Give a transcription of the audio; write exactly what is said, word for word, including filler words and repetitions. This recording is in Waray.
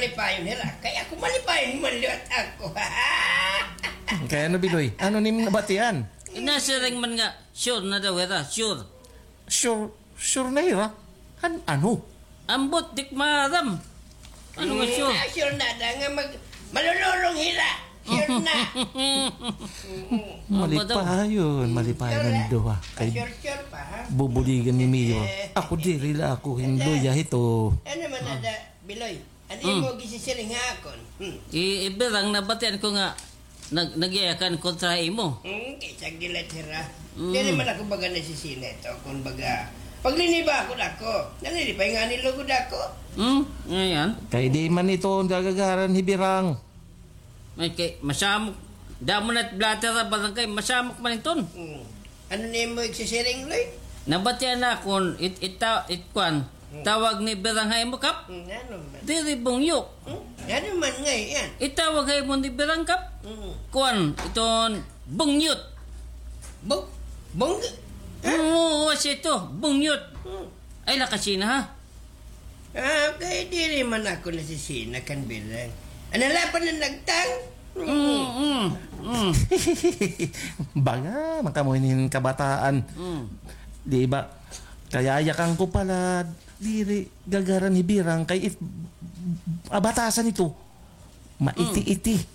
Malipayon hira. Kay ako malipayon man liwat ako. Kay ano, Biloy? Ano nim nabatian? Inasiring man nga, sure na daw hira, sure. Sure, sure na hira? An-, ano? Ambot, di ko maaram. Ano nga sure? Hmm, ah, sure na da nga mag-, malulurong hira. Sure na. Mm. Malipayon, malipayon an duha. Kay sure, sure pa, ha? Bubuligan ni Mayor. Eh. Ako diri la ako hin luya hito. Ano man na da, Biloy? Ano imo gisisiring ha akon? Hmm. I-, ibirang nabatian ko nga nag-, nagyayakan kontra imo. Hmm, kay sa gilat hira. Hmm. Diri man ako baga nasisina ito, kon baga. Pagliniba ako dako. Nanilipay nga nilugod ako. Hmm, ngayon. Kay di man ito gagagaran hibirang. Ay, kay masamok. Damo na't blatter ha barangay, masamok man iton. Hmm. Ano na imo igsisiring, Loy? Nabatian na akon, it-, ita-, it-, kwan, tawag ni Birang ha imo, Kap? Hmm, ano man? Diri bungyok. Hmm? Ano man ngay-an? Itawag ha imo ni Birang, Kap? Hmm. Kwan, iton bungyot. Bung-, bung-, ha? Oo, siya ito, bungyot. Hmm. Ay, lakasina, ha? Ah, kay diri man ako nasisina kan Birang. Ano la pa na nagtang? Mm, mm, mm. Baga man kamo hin kabataan. Mm. Di ba? Kayayakan ko pala, diri gagaran hi Birang kay it-, abatasan ito. Maiti-iti. Mm.